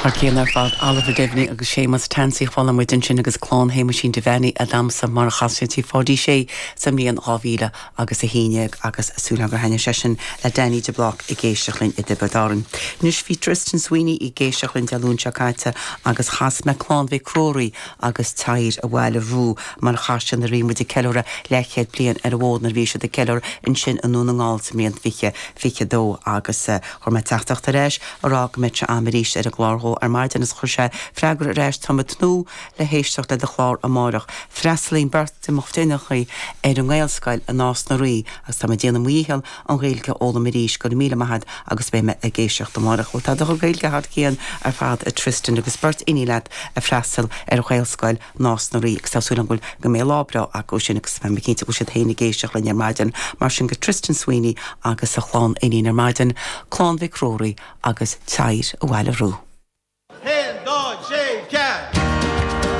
Thar cionn ar fad, Oliver Devaney agus Séamus Tansey a chuala muid ansin agus Clann Shéamuisín Devaney ag damhsa mar a chas siad Tigh Pháidí Sé sa mbliain 2000 agus 11 agus súil agam gur thaitnigh sé sin le Danny de Blác ag éisteacht linn i dTiobraid Árann. Anois bhí Tristan Sweeney ag éisteacht linn Dé Luain seo caite agus chas mé Clann Mhic Ruairí agus Teight an Bhaile Rua mar a chas siad nuair a bhí muid ag ceiliúradh leathchéad bliain ar an bhfód nuair a bhí siad ag ceiliúradh ansin i nDún na nGall sa mbliain 2022 agus chuir mé teachtaireacht ar ais a rá go mbeadh sé a'm arís ar an gclár dhó ar maidin agus chuir sé freagra ar ais Táim ag tnúth le héisteacht le do chlár amáireach. Freastalaíonn beirt de mo chuid iníonacha ar an nGaelscoil i Nás na Rí agus tá mé ag déanamh mo dhícheall an Ghaeilge a fhoghlaim arís. Go raibh míle maith agat agus beidh mé ag éisteacht amárach. Bhuel tá do chuid Gaeilge thar cionn ar fad a Tristan agus beirt iníon leat ag freastal ar Ghaelscoil Nás na Rí agus tá súil agam go bhfuil go mbeidh lá breá acu sin agus tá mé cinnte go bhfuil siad féin ag éisteacht linn ar maidin. Mar sin go Tristan Sweeney agus a chlann iníon ar maidin, Clann Mhic Ruairí agus Teight an Bhaile Rua.